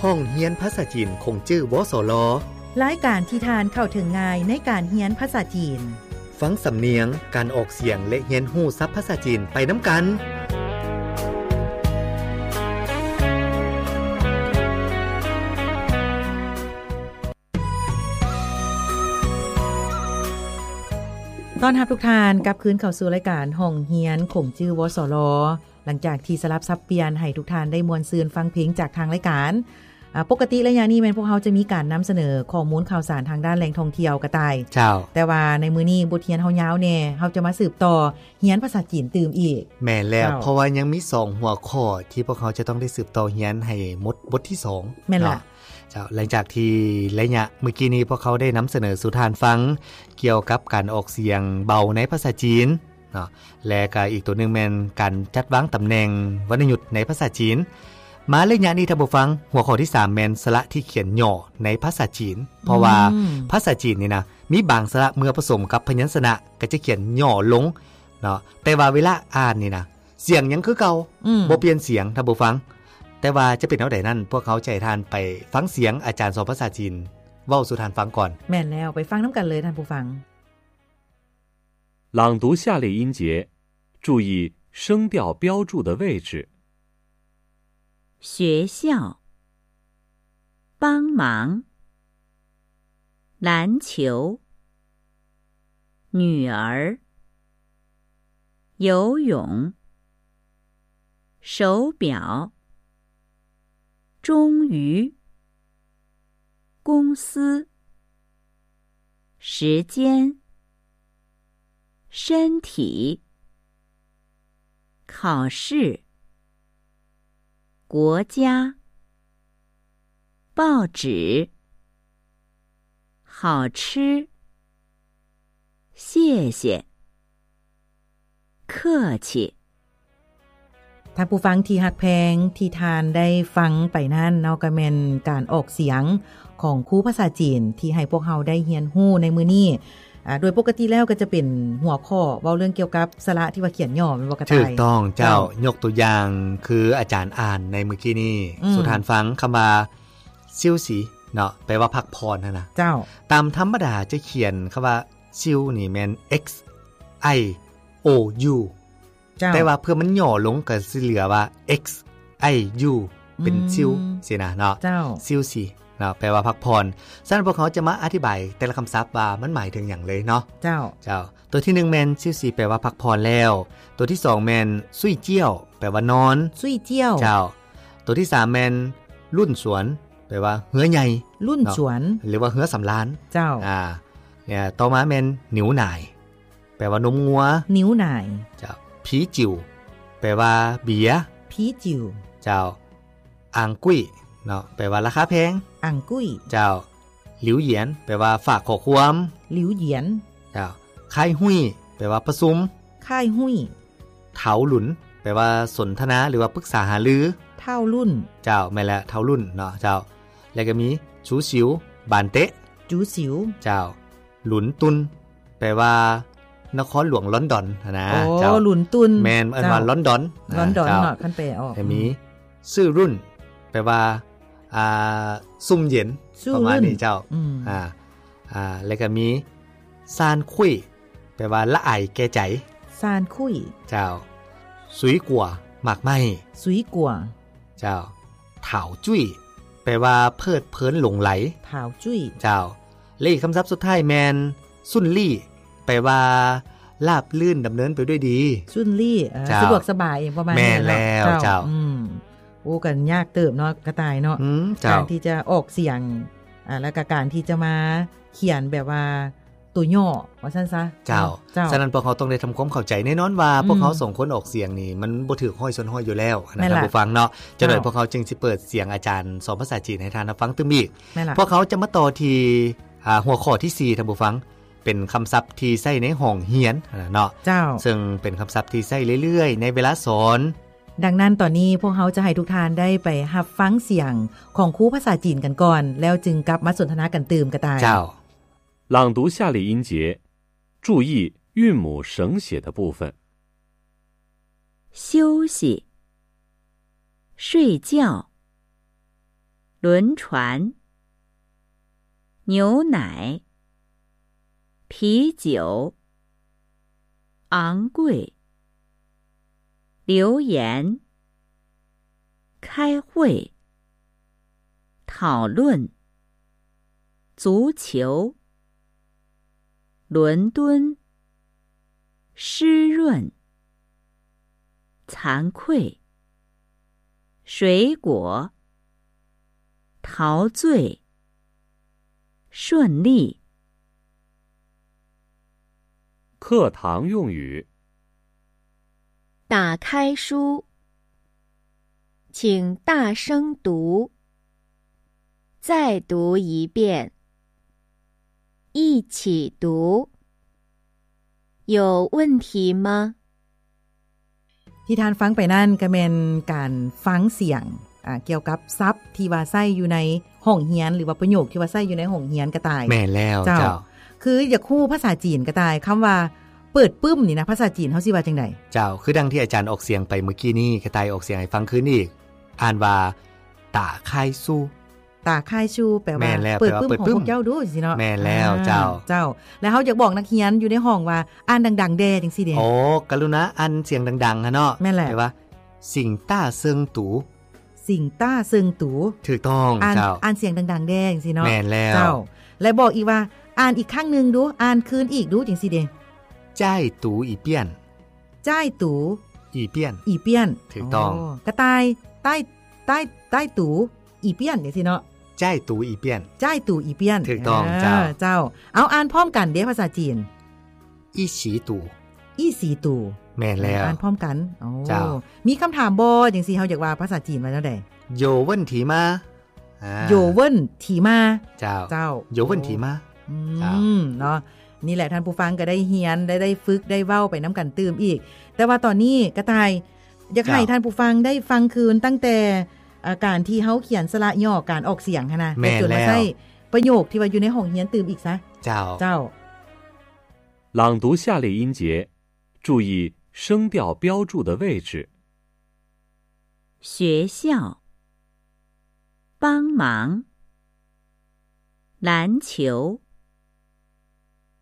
ຫ້ອງຮຽນພາສາຈີນຂົງຈື່ ວສລ. ລາຍການທີ່ທ່ານເຂົ້າເຖິງງ່າຍໃນການຮຽນພາສາຈີນ. ຟັງສຳນຽງ, ການອອກສຽງ ແລະ ຮຽນຮູ້ສັບພາສາຈີນໄປນຳກັນ. ຕ້ອນຮັບທຸກທ່ານກັບຄືນເຂົ້າສູ່ລາຍການຫ້ອງຮຽນຂົງຈື່ ວສລ. ຫຼັງຈາກທີ່ສະຫຼັບສັບປ່ຽນໃຫ້ທຸກທ່ານໄດ້ມ່ວນຊື່ນຟັງເພງຈາກທາງລາຍການ, ອາ, ປົກກະຕິໄລຍະນີ້ແມ່ນພວກເຮົາຈະມີການນຳສະເໜີຂໍ້ມູນຂ່າວສານທາງດ້ານແຫຼ່ງທ່ອງທ່ຽວ ກະຕ່າຍ. ເຈົ້າ. ແຕ່ວ່າໃນມື້ນີ້ບົດຮຽນເຮົາຍາວແດ່, ເຮົາຈະມາສືບຕໍ່ຮຽນພາສາຈີນຕື່ມອີກ. ແມ່ນແລ້ວ. ເຈົ້າ. ເພາະວ່າຍັງມີສອງຫົວຂໍ້ທີ່ພວກເຮົາຈະຕ້ອງໄດ້ສືບຕໍ່ຮຽນໃຫ້ໝົດບົດທີສອງ. ແມ່ນລະ. ເນາະ. ເຈົ້າ. ຫຼັງຈາກທີ່ໄລຍະມື້ກີ້ນີ້ພວກເຮົາໄດ້ນຳສະເໜີສູ່ທ່ານຟັງກ່ຽວກັບການອອກສຽງເບົາໃນພາສາຈີນ ເນາະ ແລະ ກະອີກຕົວໜຶ່ງແມ່ນການຈັດວາງຕຳແໜ່ງວັນນະຍຸດໃນພາສາຈີນ. ມາໄລຍະນີ້ທ່ານຜູ້ຟັງ, ຫົວຂໍ້ທີສາມແມ່ນສະຫຼະທີ່ຂຽນຫຍໍ້ໃນພາສາຈີນ. ເພາະວ່າ ອືມ ພາສາຈີນນີ້ນະ ມີບາງສະຫຼະເມື່ອປະສົມກັບພະຍັນຊະນະກະຈະຂຽນຫຍໍ້ລົງເນາະ, ແຕ່ວ່າເວລາອ່ານນີ້ນະ ສຽງຍັງຄືເກົ່າ. ອືມ ບໍ່ປ່ຽນສຽງທ່ານຜູ້ຟັງ. ແຕ່ວ່າຈະເປັນແນວໃດນັ້ນ, ພວກເຮົາຈະໃຫ້ທ່ານໄປຟັງສຽງອາຈານສອນພາສາຈີນເວົ້າສູ່ທ່ານຟັງກ່ອນ. ແມ່ນແລ້ວ, ໄປຟັງນຳກັນເລີຍທ່ານຜູ້ຟັງ. 朗读下列音节，注意声调标注的位置。学校，帮忙，篮球，女儿，游泳，手表， 终于，公司，时间，身体，考试，国家，报纸，好吃，谢谢，客气。 ທ່ານຜູ້ຟັງທີ່ຮັກແພງ, ທີ່ທ່ານໄດ້ຟັງໄປນັ້ນເນາະ ກໍແມ່ນການອອກສຽງຂອງຄູພາສາຈີນທີ່ໃຫ້ພວກເຮົາໄດ້ຮຽນຮູ້ໃນມື້ນີ້. ອາ, ໂດຍປົກກະຕິແລ້ວກໍຈະເປັນຫົວຂໍ້ເວົ້າເລື່ອງກ່ຽວກັບສະຫຼະທີ່ວ່າຂຽນຫຍໍ້ ແມ່ນບໍ່ກະຕ່າຍ? ຖືກຕ້ອງເຈົ້າ. ເຈົ້າ. ຍົກຕົວຢ່າງຄືອາຈານອ່ານໃນມື້ກີ້ນີ້ ອືມ ສູ່ທ່ານຟັງຄຳວ່າ ຊິວຊີ ເນາະ ແປວ່າພັກຜ່ອນຫັ້ນນະ. ເຈົ້າ. ຕາມທຳມະດາຈະຂຽນຄຳວ່າ ຊິວ ນີ້ແມ່ນ X I O U ເຈົ້າ ແຕ່ວ່າເພື່ອມັນຫຍໍ້ລົງກໍຊິເຫຼືອວ່າ X I U ເປັນ ອືມ ຊິວຊີ້ນະເນາະ. ເຈົ້າ. ຊິວຊີເນາະ ແປວ່າພັກຜ່ອນ. ສະນັ້ນພວກເຮົາຈະມາອະທິບາຍແຕ່ລະຄຳສັບວ່າມັນໝາຍເຖິງຫຍັງເລີຍເນາະ. ເຈົ້າ. ເຈົ້າ. ຕົວທີໜຶ່ງແມ່ນ ຊິວຊີ ແປວ່າພັກຜ່ອນແລ້ວ. ຕົວທີສອງແມ່ນ ຊຸຍຈຽວ ແປວ່ານອນ. ຊຸຍຈຽວ. ເຈົ້າ. ຕົວທີສາມແມ່ນ ລຸ້ນສວນ ແປວ່າເຮືອໃຫຍ່. ລຸ້ນສວນ ເນາະ ຫຼືວ່າເຮືອສຳລານ. ເຈົ້າ. ອາ ຕໍ່ມາແມ່ນ ໜິວໜາຍ ແປວ່ານົມງົວ. ໜິວໜາຍ. ເຈົ້າ. ຜີຈິ້ວ ແປວ່າເບຍ. ຜີຈິ້ວ. ເຈົ້າ. ອາງກຸ້ຍ ເນາະ ແປວ່າລາຄາແພງ. ອາງກຸ້ຍ. ເຈົ້າ. ຫຼິວຢຽນ ແປວ່າຝາກຂໍ້ຄວາມ. ຫຼິວຢຽນ. ເຈົ້າ. ຄາຍຮຸ້ຍ ແປວ່າປະຊຸມ. ຄາຍຮຸ້ຍ. ເຖົາລຸນ ແປວ່າສົນທະນາ ຫຼືວ່າປຶກສາຫາລື. ເຖົາລຸ້ນ. ເຈົ້າ ແມ່ນແລ້ວ ເຖົາລຸ້ນເນາະ. ເຈົ້າ. ແລ້ວກໍມີ ຈູຊິວ ບານເຕະ. ຈູຊິວ. ເຈົ້າ. ລຸນຕຸນ ແປວ່ານະຄອນຫຼວງລອນດອນຫັ້ນນະ. ໂອ້ ເຈົ້າ. ລຸນຕຸນ. ແມ່ນ ເອີ້ນວ່າ ເຈົ້າ ລອນດອນ. ລອນດອນ ເຈົ້າ ເນາະ ຄັນແປອອກ. ແລ້ວມີ ອືມ ຊື່ລຸ້ນ ແປວ່າ ອ່າ ຊຸ່ມເຢັນ ປະມານນີ້. ເຈົ້າ. ອືມ. ອາ ອາ ແລ້ວກໍມີ ຊານຄຸ້ຍ ແປວ່າລະອາຍແກ່ໃຈ. ຊານຄຸ້ຍ. ເຈົ້າ. ຊຸຍກົວ ໝາກໄມ້. ຊຸຍກົວ. ເຈົ້າ. ຖາວຈຸ້ຍ ແປວ່າເພີດເພີນຫຼົງໄຫຼ. ຖາວຈຸ້ຍ. ເຈົ້າ. ແລະ ອີກຄຳສັບສຸດທ້າຍແມ່ນ ຊຸນລີ້ ແປວ່າລາບລື່ນດຳເນີນໄປດ້ວຍດີ. ຊຸນລີ້ ເອີ ເຈົ້າ ສະດວກສະບາຍ ປະມານນີ້ເນາະ. ແມ່ນແລ້ວ ເຈົ້າ ເຈົ້າ. ອືມ. ໂອ້ ກໍຍາກເຕີບເນາະ ກະຕ່າຍເນາະ. ອືມ ເຈົ້າ. ການທີ່ຈະອອກສຽງ ອາ ແລ້ວກໍການທີ່ຈະມາຂຽນແບບວ່າໂຕຫຍໍ້ວ່າຊັ້ນຊະ. ເຈົ້າ. ເຈົ້າ. ສະນັ້ນພວກເຮົາຕ້ອງໄດ້ທຳຄວາມເຂົ້າໃຈ. ແນ່ນອນວ່າ ອືມ ພວກເຮົາສອງຄົນອອກສຽງນີ້ ມັນບໍ່ຖືກຮ້ອຍສ່ວນຮ້ອຍຢູ່ແລ້ວນະ ແມ່ນລະ ທ່ານຜູ້ຟັງເນາະ. ເຈົ້າ. ຈັກໜ່ອຍພວກເຮົາຈຶ່ງຊິເປີດສຽງອາຈານສອນພາສາຈີນໃຫ້ທ່ານຮັບຟັງຕື່ມອີກ. ແມ່ນລະ. ພວກເຮົາຈະມາຕໍ່ທີ່ ອາ ຫົວຂໍ້ທີສີ່ ທ່ານຜູ້ຟັງ, ເປັນຄຳສັບທີ່ໃຊ້ໃນຫ້ອງຮຽນຫັ້ນນະເນາະ. ເຈົ້າ. ເຊິ່ງເປັນຄຳສັບທີ່ໃຊ້ເລື້ອຍໆໃນເວລາສອນ. ດັ່ງນັ້ນ ຕອນນີ້ພວກເຮົາຈະໃຫ້ທຸກທ່ານໄດ້ໄປຮັບຟັງສຽງຂອງຄູພາສາຈີນກັນກ່ອນ, ແລ້ວຈຶ່ງກັບມາສົນທະນາກັນຕື່ມກະຕ່າຍ. ເຈົ້າ. 朗读下列音节，注意韵母省写的部分。休息，睡觉，轮船、牛奶、啤酒、昂贵、留言、开会、讨论、足球、伦敦、湿润、惭愧、水果、陶醉、顺利。课堂用语。打开书，请大声读，再读一遍，一起读。有问题吗？ ທີ່ທ່ານຟັງໄປນັ້ນກໍແມ່ນການຟັງສຽງ ອ່າ ກ່ຽວກັບສັບທີ່ວ່າໃຊ້ຢູ່ໃນຫ້ອງຮຽນ ຫຼືວ່າປະໂຫຍກທີ່ວ່າໃຊ້ຢູ່ໃນຫ້ອງຮຽນກະຕ່າຍ. ແມ່ນແລ້ວ ເຈົ້າ ເຈົ້າ. ຄືຢາກຮູ້ພາສາຈີນກະຕ່າຍ ຄຳວ່າເປີດປຶ້ມນີ້ນະ ພາສາຈີນເຮົາຊິວ່າຈັ່ງໃດ? ເຈົ້າ ຄືດັ່ງທີ່ອາຈານອອກສຽງໄປເມື່ອກີ້ນີ້ ກະຕ່າຍອອກສຽງໃຫ້ຟັງຄືນອີກ ອ່ານວ່າ ຕາຄາຍຊູ. ຕາຄາຍຊູ ແປວ່າ ແມ່ນແລ້ວ ເປີດປຶ້ມ ແປວ່າເປີດປຶ້ມ ຂອງພວກເຈົ້າດູ ຈັ່ງຊີ້ເນາະ. ແມ່ນແລ້ວ ອ່າ ເຈົ້າ ເຈົ້າ. ແລ້ວເຮົາຢາກບອກນັກຮຽນຢູ່ໃນຫ້ອງວ່າ ອ່ານດັງໆແດ່ ຈັ່ງຊີ້ເດ? ໂອ້ ກະລຸນາອ່ານສຽງດັງໆຫັ້ນເນາະ. ແມ່ນແຫຼະ ແປວ່າ ສິງຕ້າເຊິ່ງຕູ. ສິງຕ້າເຊິ່ງຕູ. ຖືກຕ້ອງ ອ່ານ ເຈົ້າ ອ່ານສຽງດັງໆແດ່ ຈັ່ງຊີ້ເນາະ. ແມ່ນແລ້ວ ເຈົ້າ. ແລະບອກອີກວ່າ ອ່ານອີກຄັ້ງໜຶ່ງດູ ອ່ານຄືນອີກດູ ຈັ່ງຊີ້ເດ? ຈ້າຍຕູອີປ່ຽນ. ຈ້າຍຕູອີປ່ຽນ. ອີປ່ຽນ. ຖືກຕ້ອງ. ໂອ້ ກະຕ່າຍ ຕ້າຍ ຕ້າຍ ຕ້າຍຕູອີປ່ຽນ ຈັ່ງຊີ້ເນາະ. ຈ້າຍຕູອີປ່ຽນ. ຈ້າຍຕູອີປ່ຽນ. ຖືກຕ້ອງ ເອີ ເຈົ້າ ເຈົ້າ. ເອົາ ອ່ານພ້ອມກັນເດ້ ພາສາຈີນ. ອີສີຕູ. ອີສີຕູ. ແມ່ນແລ້ວ ອ່ານພ້ອມກັນ. ໂອ້ ເຈົ້າ. ມີຄຳຖາມບໍ່ ຈັ່ງຊີ້ ເຮົາຢາກວ່າພາສາຈີນວ່າແນວໃດ? ໂຢເວິ້ນຖີມາ. ອ່າ ໂຢເວິ້ນຖີມາ. ເຈົ້າ ເຈົ້າ. ໂຢເວິ້ນຖີມາ. ອືມ ເຈົ້າ ເນາະ ນີ້ແຫຼະ ທ່ານຜູ້ຟັງກໍໄດ້ຮຽນ ໄດ້ ໄດ້ຝຶກ ໄດ້ເວົ້າໄປນຳກັນຕື່ມອີກ. ແຕ່ວ່າຕອນນີ້ກະຕ່າຍ ຢາກໃຫ້ ເຈົ້າ ທ່ານຜູ້ຟັງໄດ້ຟັງຄືນຕັ້ງແຕ່ ອ່າ ການທີ່ເຮົາຂຽນສະຫຼະຫຍໍ້ ການອອກສຽງຫັ້ນນະ ແມ່ນແລ້ວ ແລະຈົນມາໃຊ້ປະໂຫຍກທີ່ວ່າຢູ່ໃນຫ້ອງຮຽນຕື່ມອີກຊະ. ເຈົ້າ ເຈົ້າ. 朗读下列音节，注意声调标注的位置。学校、帮忙、篮球、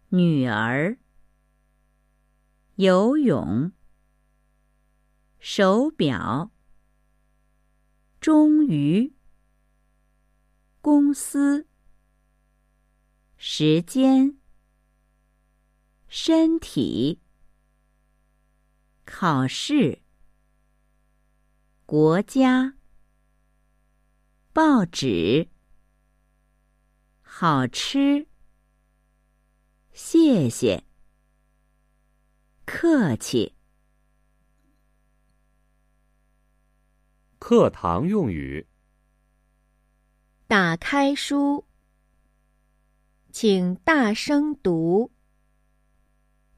女儿、游泳、手表、终于、公司、时间、身体、考试、国家、报纸、好吃、谢谢、客气。课堂用语。打开书，请大声读，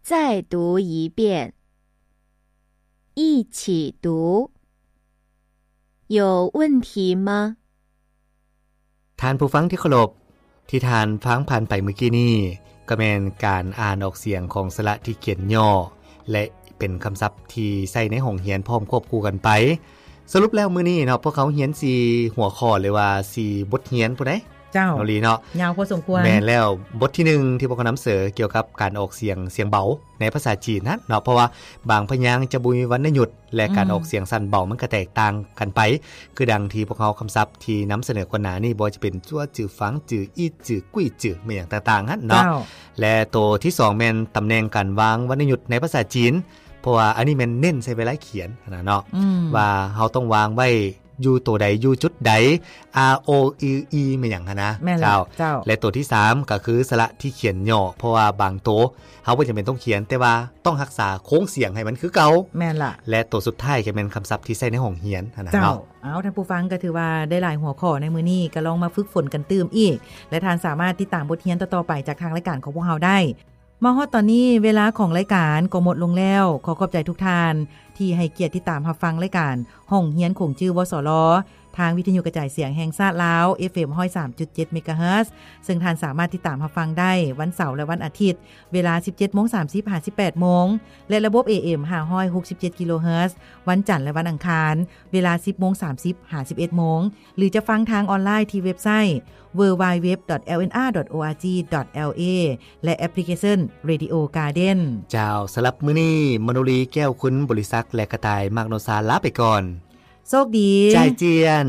再读一遍，一起读。有问题吗？ ທ່ານຜູ້ຟັງທີ່ເຄົາລົບ, ທີ່ທ່ານຟັງຜ່ານໄປເມື່ອກີ້ນີ້ ກໍແມ່ນການອ່ານອອກສຽງຂອງສະຫຼະທີ່ຂຽນຫຍໍ້ ແລະ ເປັນຄຳສັບທີ່ໃຊ້ໃນຫ້ອງຮຽນພ້ອມຄວບຄູ່ກັນໄປ. ສະຫຼຸບແລ້ວມື້ນີ້ເນາະ ພວກເຮົາຮຽນສີ່ຫົວຂໍ້ ຫຼືວ່າສີ່ບົດຮຽນພຸ້ນໃດ໋. ເຈົ້າ ນ້ອງລີເນາະ. ຍາວພໍສົມຄວນ. ແມ່ນແລ້ວ. ບົດທີໜຶ່ງທີ່ພວກເຮົານຳເສີນ ກ່ຽວກັບການອອກສຽງ ສຽງເບົາໃນພາສາຈີນຫັ້ນເນາະ, ເພາະວ່າບາງພະຍາງຈະບໍ່ມີວັນນະຍຸດ ແລະ ການ ອືມ ອອກສຽງສັ້ນເບົາມັນກະແຕກຕ່າງກັນໄປ, ຄືດັ່ງທີ່ພວກເຮົາຄຳສັບທີ່ນຳສະເໜີກ່ອນໜ້ານີ້ ບໍ່ວ່າຈະເປັນ ຈົວ ຈື ຟັງ ຈື ອີ ຈື ກຸ້ຍ ຈື ແມ່ນຫຍັງຕ່າງໆຫັ້ນເນາະ. ເຈົ້າ. ແລະ ໂຕທີສອງແມ່ນຕຳແໜ່ງການວາງວັນນະຍຸດໃນພາສາຈີນ, ເພາະວ່າອັນນີ້ແມ່ນເນັ້ນໃສ່ເວລາຂຽນຫັ້ນນະເນາະ, ອືມ ວ່າເຮົາຕ້ອງວາງໄວ້ຢູ່ໂຕໃດ ຢູ່ຈຸດໃດ ອາ ໂອ ອື ອີ ແມ່ນຫຍັງຫັ້ນນະ. ແມ່ນແລ້ວ ເຈົ້າ. ເຈົ້າ. ແລະ ໂຕທີສາມກໍຄືສະຫຼະທີ່ຂຽນຫຍໍ້, ເພາະວ່າບາງໂຕ ເຮົາບໍ່ຈຳເປັນຕ້ອງຂຽນ, ແຕ່ວ່າຕ້ອງຮັກສາໂຄງສຽງໃຫ້ມັນຄືເກົ່າ. ແມ່ນລະ. ແລະ ໂຕສຸດທ້າຍກໍແມ່ນຄຳສັບທີ່ໃຊ້ໃນຫ້ອງຮຽນຫັ້ນນະເນາະ. ເຈົ້າ. ເອົາ ທ່ານຜູ້ຟັງ ກໍຖືວ່າໄດ້ຫຼາຍຫົວຂໍ້ໃນມື້ນີ້, ກໍລອງມາຝຶກຝົນກັນຕື່ມອີກ ແລະ ທ່ານສາມາດຕິດຕາມບົດຮຽນຕໍ່ໆໄປຈາກທາງລາຍການຂອງພວກເຮົາໄດ້. ມາຮອດຕອນນີ້ ເວລາຂອງລາຍການກໍໝົດລົງແລ້ວ. ຂໍຂອບໃຈທຸກທ່ານທີ່ໃຫ້ກຽດຕິດຕາມຮັບຟັງລາຍການຫ້ອງຮຽນຂົງຈື່ ວສລ ແ ທາງວິທະຍຸກະຈາຍສຽງແຫ່ງຊາດລາວ ເອຟເອັມ ຮ້ອຍສາມຈຸດເຈັດ ເມກາເຮີດ ເຊິ່ງທ່ານສາມາດຕິດຕາມຮັບຟັງໄດ້ວັນເສົາ ແລະ ວັນອາທິດ ເວລາ ສິບເຈັດໂມງສາມສິບ ຫາ ສິບແປດໂມງ ແລະ ລະບົບ ເອເອັມ ຫ້າຮ້ອຍຫົກສິບເຈັດ ກິໂລເຮີດ ວັນຈັນ ແລະ ວັນອັງຄານ ເວລາ ສິບໂມງສາມສິບ ຫາ ສິບເອັດໂມງ ຫຼື ຈະຟັງທາງອອນລາຍທີ່ເວັບໄຊ www.lnr.org.la ແລະ ແອັບພລິເຄຊັນ Radio Garden ເຈົ້າ ສຳລັບມື້ນີ້ ມະໂນລີ ແກ້ວຄຸນ ບໍລິສັກ ແລະ ກະຕ່າຍ ມາກໂນຊາ ລາໄປກ່ອນ. ໂຊກດີ ຈາຍຈຽນ.